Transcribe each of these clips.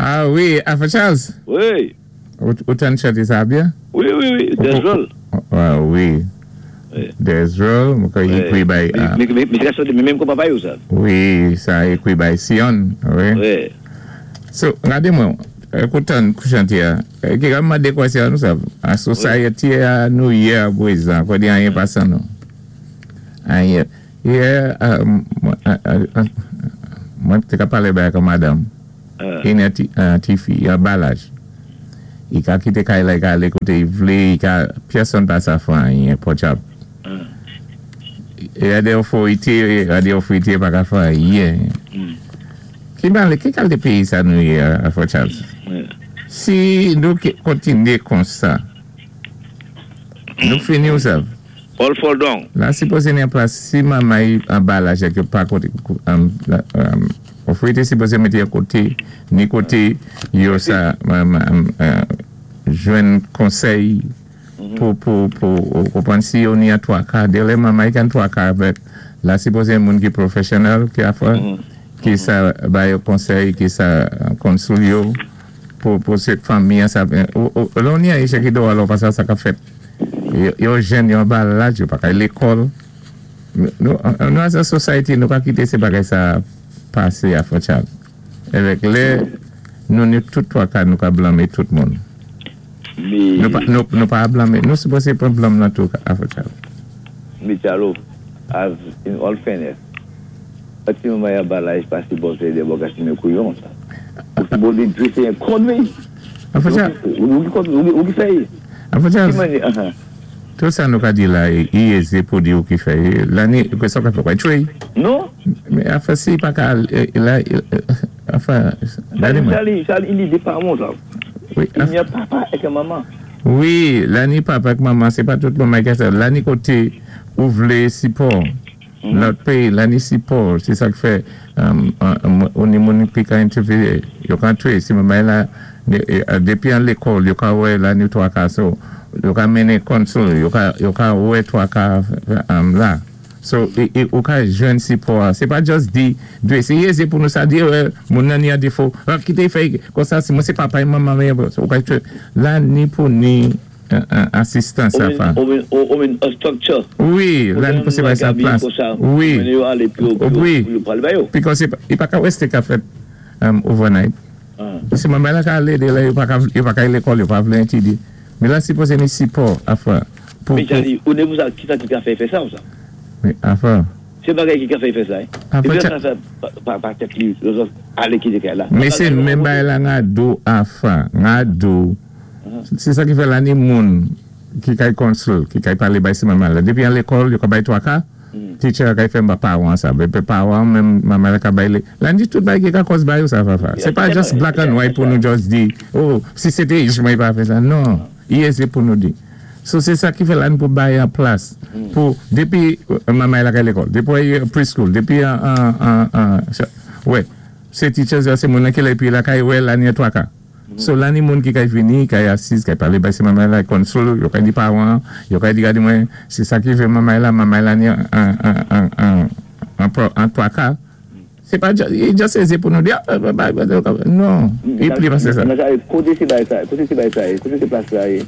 Ah wi, Alpha Charles. Wi. Ou tann chanté sa byen? Wi. Desrol. Ah wi. Desrol, mwen kwè ékwi bay. Misyé ka chanté menm kon papa yo sa. Wi, sa ékwi bay Sion. Wi. Wi. So, gadé mwen, ou tann chanté a. Ki ka mandé kwèsyon nou sa. An society a nou yé a pwézan, kwè di anyen pa 100 nou. Anyen. Yè, mwen té ka palé bay ak madanm. I ni an ti fi, an ba laj. I ka kité kay la, i ka alé koté i vlé, i ka, pèsonn pa sa fè anyen, pòdyab. Y a dé otorité, y a dé otorité pa ka fè anyen. Ki malè, ki kalité péyi sa nou yé a, Frè Charles? Si nou kontinyé konsa, nou fini ou sav. All fall down. La sipozé ni an plas si manmay an ba laj ak yo pa koté otorité sipozé mété yo koté ni koté yo sa jwenn konsèy pou konpwann si yo ni an twaka dè lè manmay ka an twaka avèk la sipozé moun ki professional ki a fè ki sa ba yo konsèy ki sa counsel yo pou se fanmi an sa lè ou ni an echèk ki do alò pa sa sa ka fèt. Yo jèn, yo anba laj, yo pa ka al lékòl. Nou as a society, nou pa kité sé bagay sa pasé a Frè Charles. Évèk lè nou ni tout twaka nou ka blanmé tout moun. Nou pa blanmé, nou sipozé pran blanm nan tou a Frè Charles. Mi Chalo, as in all fairness, an ti manman anba laj pa sipòté dé bò ka simen kouyon sa. Ou sipozé dwésé yon kont wi. Ou ki fè y. Afè Charles, tout sa nou ka di la i ézé pou di ou ki fè y. La ni, kwè sa ou ka fè, ou ka tchwé y. Non. Men afè si pa ka la, afè, gade mwen. Charlie, Charlie, i ni dé pawan sa. Wi. I ni yon papa èk yon manman. Wi, la ni papa èk manman, sé pa tout manman ki ka sa. La ni koté ou vlé sipò. Lòt péyi la ni sipò, sé sa k fè ou ni moun ki ka entèviyé, yo ka antré, si manmay la dépi an lékòl yo ka wè la ni twaka so yo ka mennen counsel, yo ka wè twaka la. So ou ka jwenn sipò a, sé pa just di dwé sé ézé pou nou sa di moun nan ni an defo, kité fè konsa si mwen sé papa e manman ou ka la ni pou ni. Asistans sa fa. Ou menn a structure. Wi, la nou pwese bay sa plas. Wi. Wi. Because i pa ka weste ka fèt overnight. Si manman la ka ale de la, yo pa ka ale lekòl, yo pa vle etidye. Men la sipoze ni sipò a fwa. Men Charly, ou ne pou sa, ki sa ki ka fè fè sa ou sa? Men a fwa. Se bagay ki ka fè fè sa. E pi sa sa pa tèt li, ale kite kay la. Men se menm bagay la nga do a fwa. Nga do. Se sa ki fè la ni moun ki kay counsel, ki kay palé bay si manman la. Dépi an lékòl, yo ka bay twaka, teacher a kay fè pawan sa. Bé pawan menm manman la ka bay lé. La ni tout bagay ki ka kòz bay yo sa fa fa. Sé pa just black and white pou nou just di, oh, si sé té ich mwen pa fè sa. Non, i ézé pou nou di. So sé sa ki fè la nou pou bay an plas. Pou, dépi manman la kay lékòl, dépi preschool, dépi an, wè, sé teachers yo, sé moun nan ki la épi la kay wè la ni an twaka. So la ni moun ki kay vini, kay asiz, kay palé bay si manmay la, counsel, yo kay di pawan, yo kay di gade mwen, sé sa ki fè manmay la, manmay la ni an twaka. Sé pa just ézé pou nou di, non, i pli pasé sa. Koté sé bay sa, koté sé bay sa yé, koté sé plas la yé?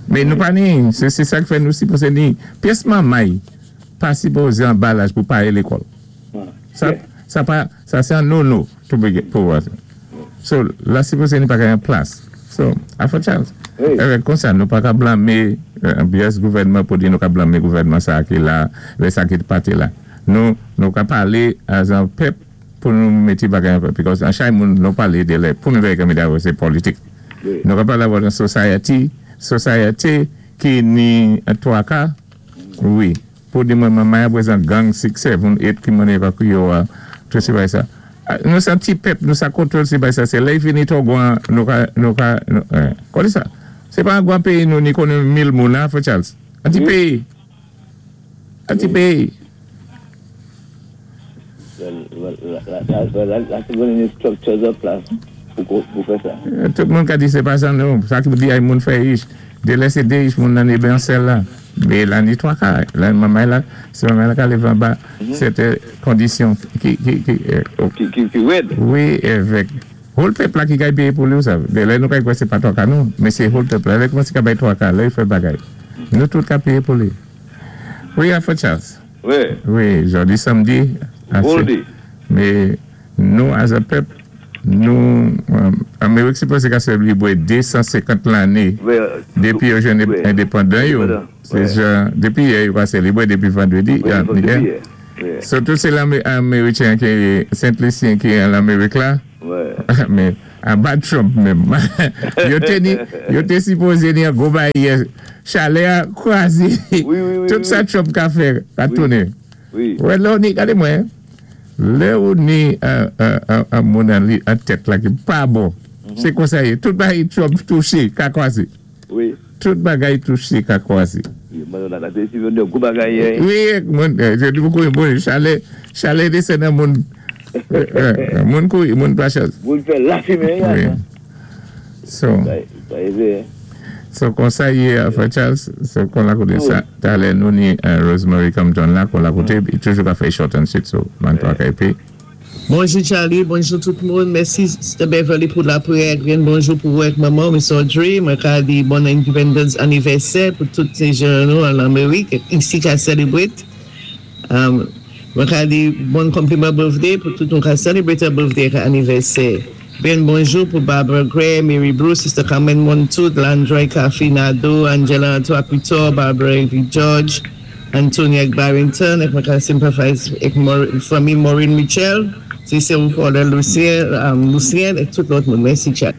Men nou pa ni, sé sa ki fè nou sipozé ni, pyès manmay pa sipozé an ba laj pou pa ale lékòl. Sa pa, sa sé an no no pou So, la sipozé ni pa ka yon plas. So, Afè Charles, evèk konsa, nou pa ka blanmé byès gouvènman pou di nou ka blanmé gouvènman sa ki la, lè sa ki pati la. Nou ka palé as an pèp pou nou mété bagay an pèp. Because an chay moun nou palé de lè pou nou vè kami da se politik. Nou ka palé about an society, society ki ni twaka, wi. Pou di mwen manmay apwezan gang 6, 7, 8 ki mwen evakwe yo a, tout se bay sa. Nou sa ti pèp, nou sa kontwòl se bay sa. Se lè fini to gwan, nou ka, konnen sa? Se pa an gwan peyi nou ni konnen 1000 moun, ha, Frè Charles? An ti peyi. An ti peyi. La se konnen structures an plas pou fè sa. Tout moun ka di se pa sa nou. Sa ki di ay moun fè ish. De lè se de ish moun nan ebe an sel la. Me la ni 3 ka. La mamay la, se mamay la ka leve an ba. Sete kondisyon ki Ki wèd. Wi, evèk. Whole pèp la ki kay péyé pou li ou sav. Lè nou kay kwè sé pa twaka nou, men sé whole pèp la. Lè koumanse ka bay twaka, lè yo fè bagay. Nou tout ka péyé pou li. Wi, Alpha Charles. Wi. Wi, jòdi samdi, ase. Men nou as a pèp, nou, Amerik sipoze ka selebre 250 lane depi yo jwenn endepandan yo. Se jan, depi yè yo ka selebre, depi vandredi, yè. So tout se Americhen ki, Sent Lisyen ki an Amerik la. Men, aba Trump menm. Yo te ni, yo te sipoze ni an gwo bagay yè. Chalè a kraze. Tout sa Trump ka fè, ka tounen. Wè lè ou ni, gade mwen, lè ou ni an moun an tèt la ki pa bon, se konsa ye. Tout bagay Trump touche, ka kraze. Wi. Tout bagay touche ka kwaze. Wi, mwen la te si yon gwo bagay yè. Wi, mwen je di pou bon chalè, chalè desann nan moun. Moun kouri, moun pa chans. Moun fè lafimen ya. Wi. So. Sa ye vre. So konsa ye frè Charles, so kon la kote sa, talè nou ni Rosemary Compton la kon la kote, li toujou ka fè short and sweet so man 3 ka epi. Bonjou Charly, bonjou tout moun, mèsi Sister Beverly pou lapriyè ak grenn bonjou pou ou ak manman w Miss Audrey, mwen ka di bon Independence anivèsè pou tout ti jèn nou an Amerik ak isi ka celebrate, mwen ka di bon compliment birthday pou tout moun ka celebrate a birthday ak anivèsè, grenn bonjou pou Barbara Gray, Mary Bruce, Sister Carmen Montout, Landroy Caffey Nadeau, Angela Antoine Pitor, Barbara Evie George. Anthony ak Barrington ak mwen ka sympathize ak fanmi Maureen Mitchell si se ou Paulin Lucien Lucien ak tout lòt moun mèsi Charly.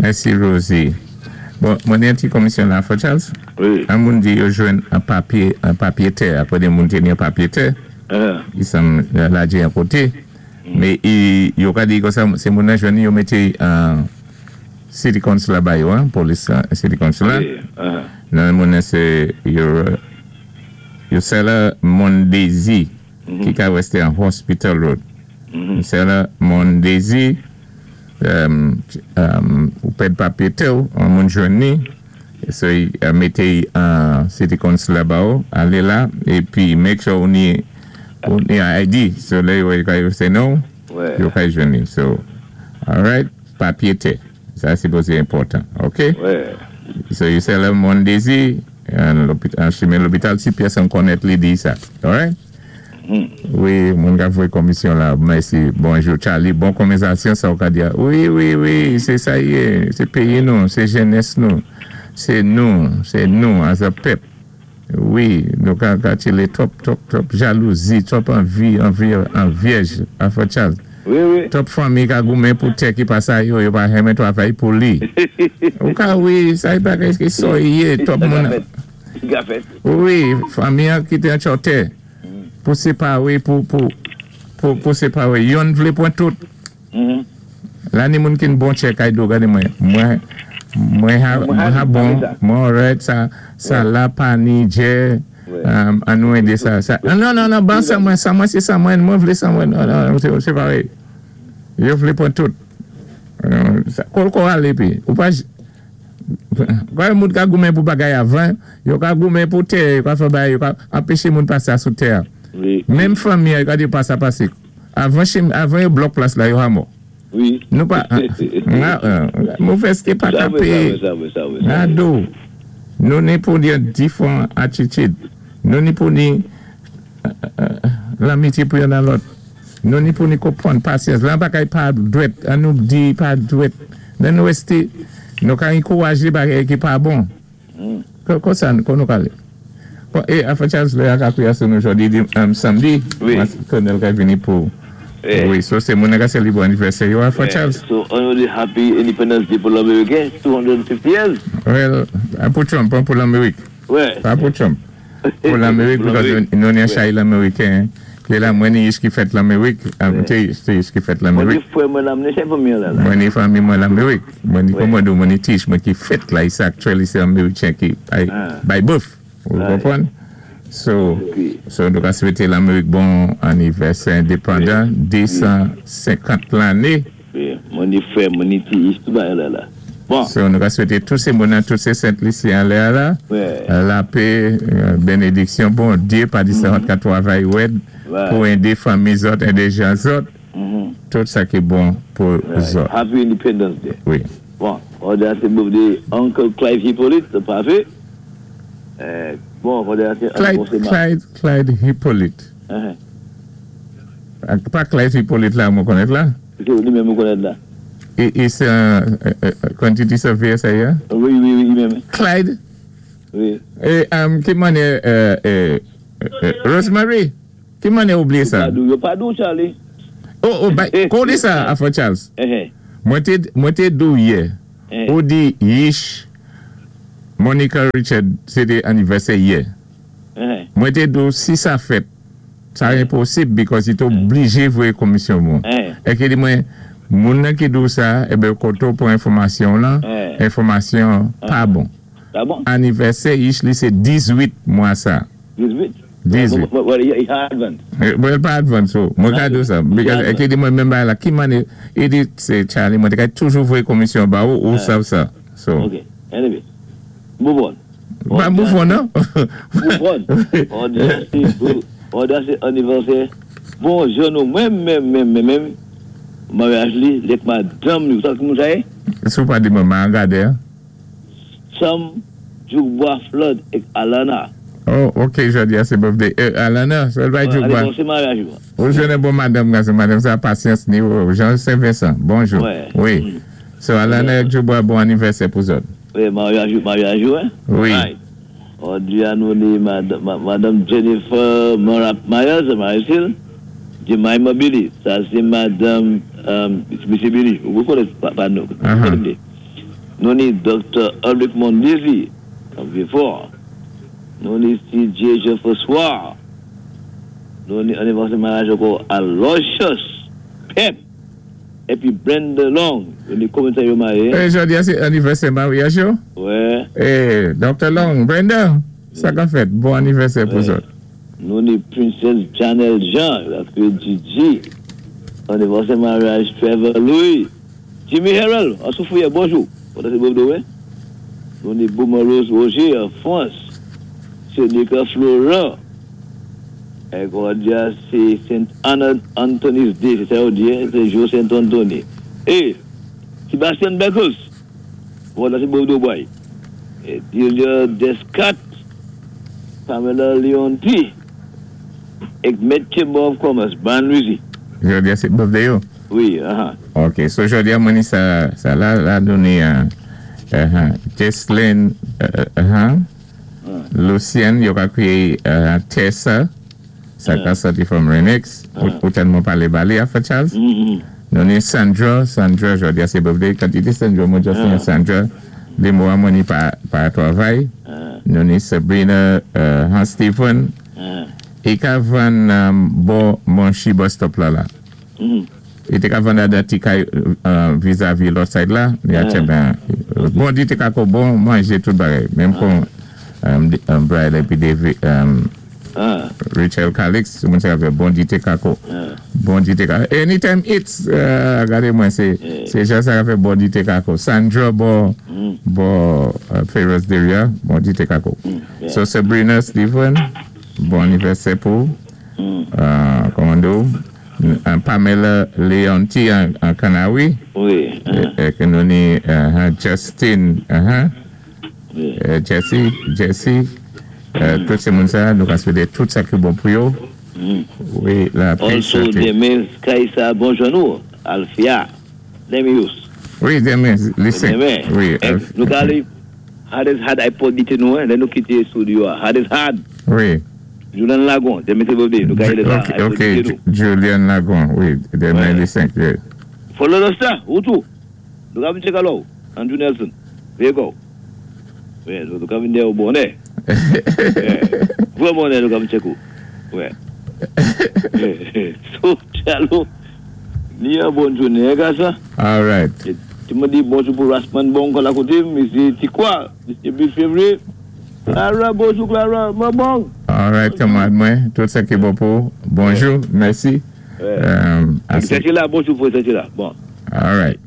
Mèsi Rosie. Bon, mwen gen yon ti komisyon la, Frè Charles. Wi. An moun di yo jwenn an papye, an papye tè, apre de moun te ni an papye tè, i sanm ladje an kote, men i, yo ka di konsa, se moun nan jwenn li, yo mete an City Council la ba yo an, polis la, City Council la. Wi, aha. Non moun nan se Yosela Mondesir ki ka reste an Hospital Road. Yosela Mondesir ou pèd papye tè ou, an moun jwenn ni, so mete an City Council la ba ou, ale la, epi make sure ou ni ou ni ID, so lè yo wè yo ka yo se non ou, yo ka jwenn ni. So, alright, papye tè. Sa sipoze enpòtan ok. So you sell a Mondesi an chimen lopital si pyès an konnèt li di sa alright. Wi moun kap voye komisyon la mèsi bonjou Charly bon konvèzasyon sa ou ka di a wi wi wi se sa ye se peyi nou se jenès nou se nou se nou as a pèp. Wi nou ka ka tchele twòp twòp twòp jalouzi twòp anvi anvi anvyèj a frè Charles Wi wi. Twòp fanmi ka goumen pou tè ki pa sa yo yo pa renmen travay pou li ou ka wi sa e bagay ki so ye twòp Sa ka moun fèt Li ka fèt. Wi fanmi an kite an tchò tè pou separe pou pou pou pou separe yonn vle pran tout. La ni moun kin bon chè kay do gade mwen mwen mwen ha mwen ha bon mwen alright sa sa la pa ni djè an nou ede sa sa non non non ban sa mwen sa mwen se sa mwen mwen vle sa mwen non non se pa vre yo vle pran tout kol ko ale pi ou pa kòy moun ka goumen pou bagay avan yo ka goumen pou tè yo ka fè bagay yo ka anpeche moun pase a sou tè a menm fanmi an yo ka di yo pa sa pase. Avan chim avan yo blòk plas la yo ha mò. Wi. Nou pa movèzte pa ka peye Nado nou ni pou yon difran atitid nou ni pou ni lanmitye pou yonn a lòt nou ni pou ni konprann pasyans lan bagay pa dwèt an nou di pa dwèt lè nou reste nou ka ankouraje bagay ki pa bon. Konsa kon nou pale. Bon e afè Charles lè a ka kriya sou nou jodi di samdi Colonel ka vini pou wi so se moun nan ka selebre anivèsè yo afè Charles. So an nou di happy independence day pou l'Ameriken 250 years. Well pou Trump an pou l'Amerik. Pa pou Trump. Pou l'Amerik because nou ni chay l'Ameriken ki la mwen ni ich ki fèt l'Amerik te ich ki fèt l'Amerik. Mwen ni frè mwen la mwen ni chay fanmi an la la. Mwen ni fanmi mwen l'Amerik. Mwen ni kòman di w mwen ni ti ich mwen ki fèt la isa actually se Americhen ki by birth ou konprann so so nou ka swete l'Amerik bon anivèsè endepandan 250 lane. Mwen ni frè mwen ni ti ich tout bagay la la bon. So nou ka swete tout se moun nan tout se sent lisi anlè a la lapé benediksyon Bondye pa di sèvant ka twavay rèd pou ede fanmi zòt ede jan zòt. Tout sa ki bon pou zòt. Happy Independence Day. Wi. Bon, jòdi a sé birthday Uncle Clive Hippolyte, pafé. Bon, jòdi a sé Clyde, Clyde, Clyde Hippolyte. Pa Clyde Hippolyte la mwen konnèt la? Sé li menm ou konnèt la. É sé quantity surveyor sa yé? Wi, li menm. Clyde? Wi. É ki mannyè Rosemary? Ki mannyè ou bliyé sa? Yo pa di ou, Charlie. Oh, oh, kon di sa, Afro Charles? Mwen té di ou yè, ou di Yish, Monica Richard, sé té anivèsè yè. Mwen té di ou si sa fèt, sa enposib because i té oblijé voyé komisyon moun. É ki di mwen, moun nan ki di ou sa, ébé koté ou pran enfòmasyon lan, enfòmasyon pa bon. Pa bon? Anivèsè Yish li sé 18 mwa sa. 18? 18. Well, i advance. Well, pa advance so. Mwen ka di ou sa. Because é ki di mwen menm bagay la, ki mannyè, i di sé Charlie, mwen té ka toujou voyé komisyon ba ou, ou sav sa. So. Ok. Anyway. Move on. Pa move on non. Move on. Jòdi a sé anivèsè bon jan nou menm menm menm menm menm maryaj li lèk madanm li. Ou sav ki moun sa yé? Si ou pa di mwen, ma gadé. Sam Djoukbois Flood ek Alana. Oh ok jodi a se birthday Alana so l bay Djoukbois. Anivèsè maryaj ou. Ou jwenn yon bon madanm gason madanm sa pasyans ni Jean Saint Vincent bonjou wi so Alana ek Djoukbois bon anivèsè pou zòt. Wi maryaj ou maryaj ou hein. Wi. Jodi a nou ni madanm Jennifer Myers Myers Jemima Billy sa se madanm mesye Billy ou konnen pa nou konnen li. Nou ni Doktè Ulrick Mondésir, nan Vieux-Fort. Nou ni CJ Jean François. Nou ni anivèsè maryaj ankò Aloysius Pep epi Brenda Long. Nou ni konbyen tan yo marye? E jodi a se anivèsè maryaj yo? Wè. E Doktè Long, Brenda, sa kap fèt? Bon anivèsè pou zòt. Nou ni Princess Janelle Jean, yo ap kriye Gigi. Anivèsè maryaj Trevor Louis. Jimmy Herrell, an Soufrière, bonjou. Kote se Bobdo wi. Nou ni Boomer Rose Roger an Frans. Seneca Florent. Ek jòdi a sé Saint Anna Anthony's Day, sé sa yo di, sé jou Saint Anthony. E Sebastian Beckles, jòdi a sé Bobdo boy. E Delia Descat, Pamela Leonty. Ek Met Chamber of Commerce, Brian Louisy. Jòdi a sé birthday yo? Wi, aha. Ok, so jòdi a mwen ni sa, sa la, la nou ni Jesslyn, Lucien, yo ka kriye Tessa, sa ka sòti from Renix, ou tèlman palé ba li afè Charles. Nou ni Sandra, Sandra jòdi a sé birthday, kantité Sandra mwen just ni Sandra, de mo a mwen ni pa travay. Nou ni Sabrina Hans Stephen, i ka vann bò Monchi bus stop la la. I té ka vann ladan ti kay vizavi lòt side la, li a tchè ben. Bon di té kako bon manjé tout bagay. Menm kon Brad épi David, Richel Calix, moun sa yo fè bon di té kako. Bon di té kako. Anytime Eats, gadé mwen sé jan sa ka fè bon di té kako. Sandra bò bò Ferris Deria, bon di té kako. So Sabrina Stephen, bon anivèsè pou ou. Kòman di ou? Pamela Leonty an Kanawi. Ke nou ni Justin, Jesse, Jesse, tout sé moun sa nou ka swété tout sa ki bon pou yo. Wi, lapè Also sante. demen Kaïsa bonjou nou Alfia Demius. Wi, demen li 5. Demen. Wi, Nou ka ale Hard as hard iPod di te nou lè nou kite studio a Hard as hard. Wi. Julian Lagon, demen se birthday, nou ka rele sa iPod Ok, di te nou. Julian Lagon, wi, demen li 5. Wi. Follow the star, ou tou. Nou ka vin tcheke alò ou, Andrew Nelson. Veye kò ou. Wi, nou ka vin dèyè ou bonè. Vrè bonè nou ka vin tcheke ou. Wi. So, Tchalo, ni yon bòn jounen, gason. All right. Ti mwen di bonjou pou Rasman Bon kon akote, Mesye Tikwa, Mesye Bill Février. Clara, bonjou Clara, mwen bon. All right, kanmarad mwen, tout sa ki bon pou ou. Bonjou, mèsi. Ase. la, bonjou pou la. Bon. All right.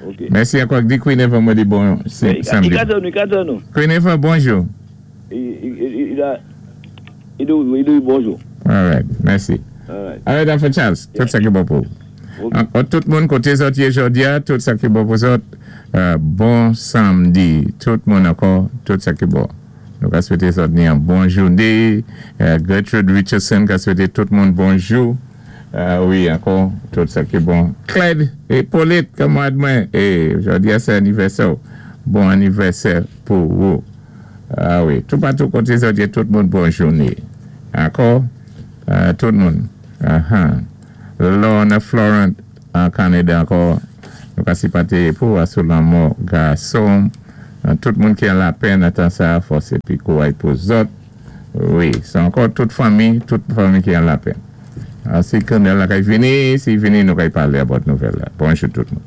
Ok. Mèsi ankò. Di Queen Eva mwen di bon samdi. I nou. Queen Eva, bonjou. I di bonjou. All right, mèsi. All right. All right, Alpha Charles, tout sa ki bon pou ou. Ankò tout moun koté zòt yé jòdi-a, tout sa ki bon pou zòt. Bon samdi tout moun ankò, tout sa ki bon. Nou ka swété zòt ni an bon jouné. Gertrude Richardson ka swété tout moun bonjou. Wi ankò, tout sa ki bon. Clyde Hyppolite, kanmarad mwen, jòdi-a sé anivèsè-w. Bon anivèsè pou wou. Wi, toupatou koté zòt yé, tout moun bon jouné. Ankò, tout moun. Lorna Florent an Kanada ankò, nou ka sipaté pou ou sou lanmò gason. Tout moun ki an lapenn nan tan sa-a, fòs épi kouray pou zòt. Wi, sé ankò tout fanmi ki an lapenn. Si Colonel la kay vini, si y vini nou kay palé about nouvèl la. Bonjou tout moun.